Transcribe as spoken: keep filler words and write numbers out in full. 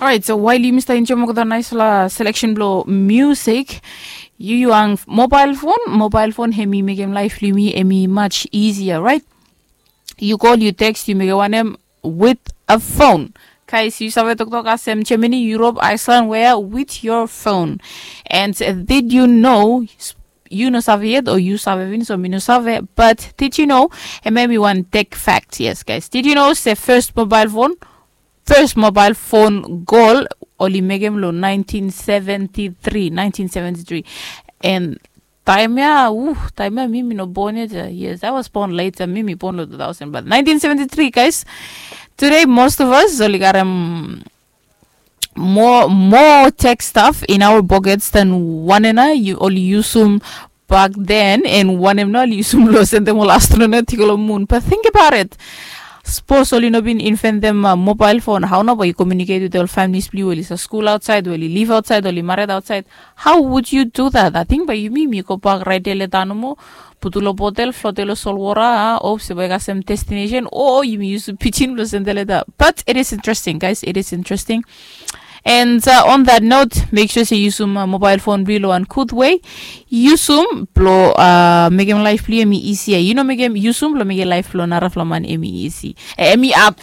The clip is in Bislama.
Alright, so while yumi stap enjoim olgeta naispela selection blong music, yu yu ang mobile phone, mobile phone hemi mekim life blong yumi hemi much easier, right? Yu call, yu text, yu mekim wanem with a phone. Guys, yu save toktok olsem Germany, Europe, Iceland, where with your phone. And uh, did you know, yu no save yet, o yu save finis o mi no save, but did you know, hemia hemi wan tech fact, yes guys, did you know se first mobile phone, first mobile phone call oli mekim long nineteen seventy-three, nineteen seventy-three. And taem ya, uh, taem ya mi mi no born yet. Uh, yes, I was born later, mi mi born long two thousand, but nineteen seventy-three, guys. Today most of us oli garem more more tech stuff in our pockets than wanem na oli yusum back then, and wanem na oli yusum long sendem ol astronaut i go long moon. But think about it. Sapos oli no bin inventim uh, mobile phone, hao nao bae yu communicate with ol families blong yu, oli stap skul outside, oli live outside, oli mared outside? How would you do that? I think bae yumi mi go bak, raet leta nomo, putum long botel, flotem long solwota, a, hope se bae kasem destination, o yumi yusum pidgin blong sendem leta. But it is interesting, guys, it is interesting. And uh, on that note, make sure se yusum uh, mobile phone blong yu long wan gud way. Yusum blong uh, mekim life blong yu hemi easier. Yu no mekim, yusum blong mekim life blong narafala man hemi easy, eh, hemi ap.